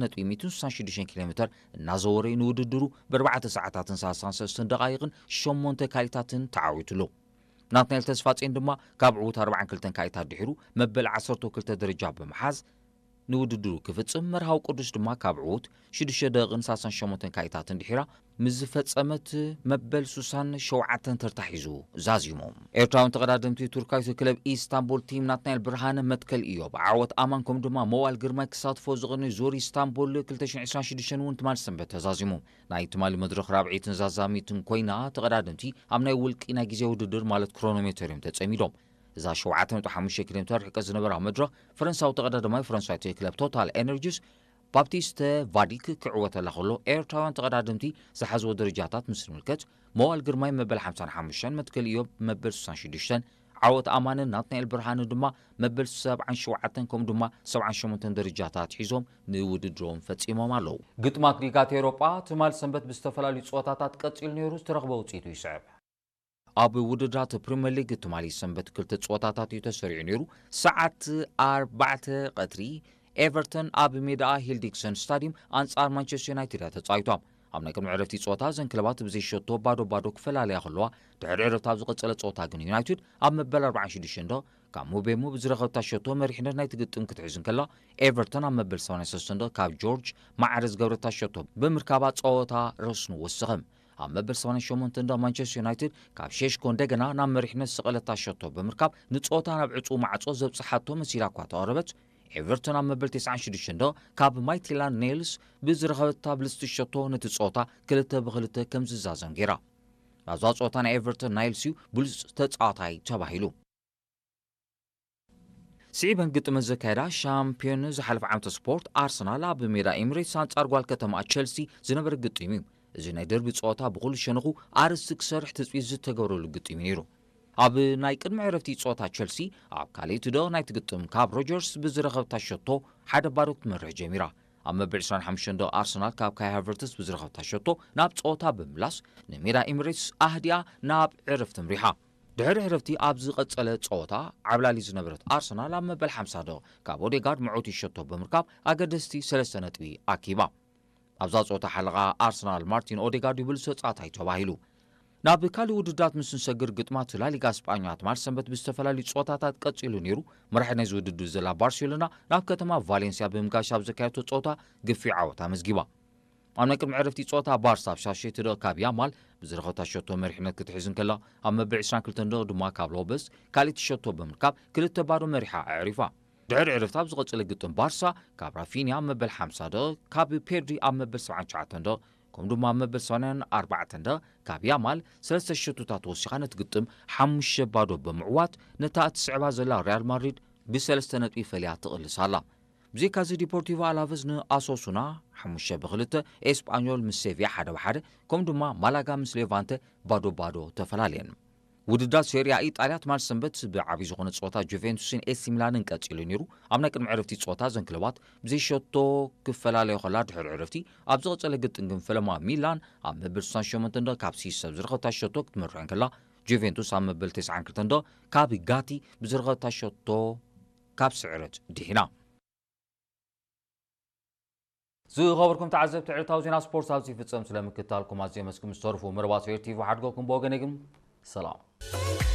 ነጥቢ ሚእትን ስሳን ሽዱሽተን ኪሎ ሜተር እናዘወረ እዩ ንውድድሩ ብኣርባዕተ ሰዓታትን ሰላሳን ሰለስተን ደቓይቕን ሸሞንተ ካሊታትን ተዓዊቱሉ። ናትናኤል ተስፋጼን ድማ ካብ ዕዉት ኣርባዓን ክልተን ካሊታት ድሒሩ መበል ዓሰርተ ክልተ ደረጃ ብምሓዝ ንውድድሩ ክፍጽም፣ መርሃዊ ቅዱስ ድማ ካብ ዕዉት ሽዱሽተ ደቂቕን ሰላሳን ሸሞንተን ካሊታትን ድሒራ ምስ ዝፈጸመት መበል ስሳን ሸውዓተን ተርታ ሒዙ ዛዚሙ። ኤርትራውያን ተቐዳደምቲ ቱርካዊት ክለብ ኢስታንቡል ቲም ናትናኤል ብርሃነ፣ መትከል ኢዮብ፣ ዓወት ኣማን ከምኡ ድማ መዋል ግርማይ ክሳትፎ ዝቕንዩ ዙር ኢስታንቡል ክልተ ሽሕን ዕስራን ሽዱሽተን እውን ትማል ሰንበት ተዛዚሙ። ናይ ትማሊ መድረኽ ራብዐይትን ዛዛሚትን ኮይና ተቐዳደምቲ ኣብ ናይ ውልቂ ናይ ግዜ ውድድር ማለት ክሮኖሜተር እዮም ተጸሚዶም። እዛ ሸውዓተ ነጥቢ ሓሙሽተ ኪሎ ሜተር ርሕቀት ዝነበራ መድረኽ ፈረንሳዊ ተቐዳዳማይ ፈረንሳዊት ክለብ ቶታል ኤነርጂስ ባፕቲስተ ቫዲክ ክዕወተላ ከሎ ኤርትራውያን ተቐዳደምቲ ዝሓዝዎ ደረጃታት ምስ ንምልከት መዋል ግርማይ መበል ሓምሳን ሓሙሽተን፣ መትከል ኢዮብ መበል ስሳን ሽዱሽተን፣ ዓወት ኣማንን ናትናኤል ብርሃንን ድማ መበል ሰብዓን ሸውዓተን ከምኡ ድማ ሰብዓን ሸሞንተን ደረጃታት ሒዞም ንውድድሮም ፈጺሞም ኣለዉ። ግጥማት ሊጋት ኤውሮጳ ትማል ሰንበት ብዝተፈላለዩ ጸወታታት ቀጺሉ ነይሩ። ዝተረኽበ ውጽኢቱ ይስዕብ። ኣብ ውድድራት ፕሪምየር ሊግ ትማሊ ሰንበት ክልተ ጸወታታት እዩ ተሰሪዑ ነይሩ። ሰዓት ኣርባዕተ ቀትሪ ኤቨርተን ኣብ ሜዳኣ ሂል ዲክሰን ስታዲየም ኣንጻር ማንቸስተር ዩናይትድ እያ ተጻዊታ። ኣብ ናይ ቅድሚ ዕረፍቲ ጸወታ እዘን ክለባት ብዘይ ሸቶ ባዶ ባዶ ክፈላለያ ከለዋ፣ ድሕሪ ዕረፍቲ ኣብ ዝቐጸለ ጸወታ ግን ዩናይትድ ኣብ መበል ኣርባዓን ሽዱሽተን ደቕ ካብ ሙቤሞ ብዝረኸብታ ሸቶ መሪሕነት ናይቲ ግጥም ክትሕዝ እንከላ፣ ኤቨርተን ኣብ መበል ሰማንያን ሰለስተን ደቕ ካብ ጆርጅ ማዕረ ዝገብረታ ሸቶ ብምርካባ ጸወታ ረስኑ ወሰኸ። ኣብ መበል ሰማንያን ሸሞንተን ደቕ ማንቸስተር ዩናይትድ ካብ ሼሽኮ እንደገና ናብ መሪሕነት ዝሰቐለታ ሸቶ ብምርካብ ንጸወታ ናብ ዕጹው ማዕጾ ዘብጽሓቶ መሲላ እኳ ተቐረበት፣ ኤቨርተን ኣብ መበል ተስዓን ሽዱሽተን ደቕ ካብ ማይቲላን ኔልስ ብዝረኸበታ ብልጽቲ ሸቶ ነቲ ጸወታ ክልተ ብክልተ ከም ዝዛዘም ገይራ። ኣብዛ ጸወታ ናይ ኤቨርተን ናይልስ እዩ ብሉጽ ተጻዋታይ ተባሂሉ። ስዒበን ግጥመን ዘካየዳ ሻምፒዮን ዝሓለፈ ዓመተ ስፖርት ኣርሰናል ኣብ ሜዳ ኤምሬትስ ኣንጻር ጓል ከተማ ቸልሲ ዝነበረ ግጥም እዩ። እዚ ናይ ደርቢ ጸወታ ብኹሉ ሸነኹ ኣርእስቲ ክሰርሕ ትጽቢት ዝተገብረሉ ግጥም እዩ ነይሩ። ኣብ ናይ ቅድሚ ዕረፍቲ ጸወታ ቸልሲ ኣብ ካልኣይቲ ደቕ ናይቲ ግጥም ካብ ሮጀርስ ብዝረኸብታ ሸቶ ሓደ ባዶ ክትመርሕ ጀሚራ። ኣብ መበል ዕስራን ሓሙሽተን ደቕ ኣርሰናል ካብ ካይ ሃቨርትስ ብዝረኸብታ ሸቶ ናብ ጸወታ ብምምላስ ንሜዳ ኤምሬትስ ኣህዲኣ ናብ ዕረፍቲ ምሪሓ። ድሕሪ ዕረፍቲ ኣብ ዝቐጸለ ጸወታ ዓብላሊ ዝነበረት ኣርሰናል ኣብ መበል ሓምሳ ደቕ ካብ ኦዴጋርድ መዕወቲ ሸቶ ብምርካብ ኣገደስቲ ሰለስተ ነጥቢ ኣኪባ። ኣብዛ ጸወታ ሓለቓ ኣርሰናል ማርቲን ኦዴጋርድ እዩ ብሉጽ ተጻዋታይ ተባሂሉ። ናብ ካልእ ውድድራት ምስ ንሰግር ግጥማት ላሊጋ ስጳኛ ትማል ሰንበት ብዝተፈላለዩ ጸወታታት ቀጺሉ ነይሩ። መራሒ ናይዚ ውድድር ዘላ ባርሴሎና ናብ ከተማ ቫሌንሲያ ብምጋሽ ኣብ ዘካየደቶ ጸወታ ግፊ ዓወት ኣመዝጊባ። ኣብ ናይ ቅድሚ ዕረፍቲ ጸወታ ባርሳ ኣብ ሻሸይቲ ደቕ ካብ ያማል ብዝረኸብታ ሸቶ መሪሕነት ክትሕዝ እንከላ ኣብ መበል ዕስራን ክልተን ደቕ ድማ ካብ ሎበስ ካልኣይቲ ሸቶ ብምርካብ ክልተ ባዶ መሪሓ ኣዕሪፋ። ድሕሪ ዕረፍቲ ኣብ ዝቐጸለ ግጥም ባርሳ ካብ ራፊንያ ኣብ መበል ሓምሳ ደቕ ካብ ፔድሪ ኣብ መበል ሰብዓን ትሽዓተን ደቕ ከምኡ ድማ ኣብ መበል ሰማንያን ኣርባዕተን ደቕ ካብ ያማል ሰለስተ ሸቶታት ወሲኻ ነቲ ግጥም ሓሙሽተ ባዶ ብምዕዋት ነታ እትስዕባ ዘላ ሪያል ማድሪድ ብሰለስተ ነጥቢ ፈልያ ትቕልስ ኣላ። ብዘይካዚ ዲፖርቲቮ ኣላቨዝ ንኣሶሱና ሓሙሽተ ብክልተ፣ ኤስጳኞል ምስ ሴቪያ ሓደ ብሓደ ከምኡ ድማ ማላጋ ምስ ሌቫንተ ባዶ ባዶ ተፈላለየን። ውድድራት ሴሪያ ኢጣልያ ትማል ሰንበት ብዓቢ ዝኾነ ጸወታ ጁቬንቱስን ኤሲ ሚላንን ቀጺሉ ነይሩ። ኣብ ናይ ቅድሚ ዕረፍቲ ጸወታ እዘን ክለባት ብዘይ ሸቶ ክፈላለያ ከላ ድሕሪ ዕረፍቲ ኣብ ዝቐጸለ ግጥም ግን ፈለማ ሚላን ኣብ መበል ስሳን ሸሞንተን ደቕ ካብ ሲስ ኣብ ዝረኸብታ ሸቶ ክትመርሕ እንከላ ጁቬንቱስ ኣብ መበል ተስዓን ክልተን ደቕ ካብ ጋቲ ብዝረኸብታ ሸቶ ካብ ስዕረት ድሒና። ዝኸበርኩም ተዓዘብቲ ዕለታዊ ዜና ስፖርት ኣብዚ ይፍጸም። ስለ ምክትታልኩም ኣዝየ መስግን። ምስ ተርፉ መርባት ፌር ቲቪ ሓድጎኩም ብወገነይ ግን ሰላም።